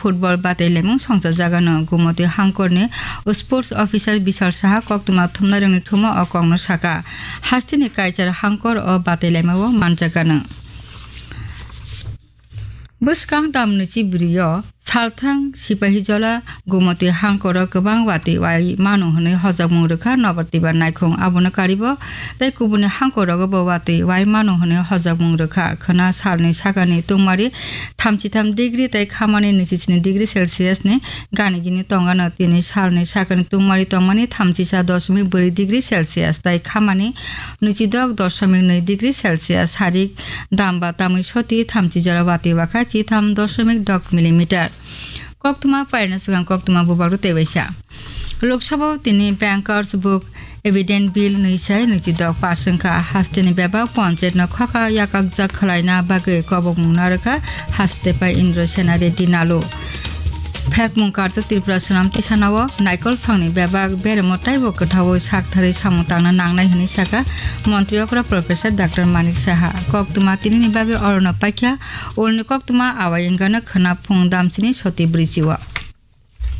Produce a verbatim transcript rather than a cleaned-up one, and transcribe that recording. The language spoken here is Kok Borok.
football batailaimung songchajagano. Gumoti hangkorni sports officer Bishal Saha koktwma thumnairokni thumo o kokno saka. Hasteni kaichar hangkor o batailaimao manjagano. Bwskang tamni chibrio salthang sipahi jola Gumoti hangkoro kwbang watwi wai mano hwnwi hojakmung rwkha Nobatibar naikhung. Abono karibo tei kubuni hangkorogo bo watwi wai mano hwnwi hojakmung rwkha. Khwna salni sakani tungmari thamchi tham degree tei khamani nwichi sini degree Celsius ni gani gini tongano. Tini salni sakani tungmari tongmani thamchisa dosmik bwrwi degree Celsius tei khamani nwichidok dosmik nwi degree Celsius. Sarik damba tamwi soti thamchi jora watwi wakha chitham dosmik dok millimeter. Koktwma pairna swkang koktwma bubagrwi tei waisa. Lok Sabha o tini Bankers Book Evident Bill nwi sai nwichidok pass wngkha. Hasteni bebak ponchayetno khokha yakakjak khwlaina bagwi kobokmung narwkha haste pai Indra Sena Reddy Nalu. Phekmung karjak Tripura Swnam Tisanao naikol phangni bebak beremo taibo kwthaui saktharwi samung tangna nangnai hwnwi sakha Montri okra Professor Doctor Manik Saha. Koktwma tinini bagwi orono paikha ulni koktwma awai wngkha no khwna phung damsini soti bwrwichio.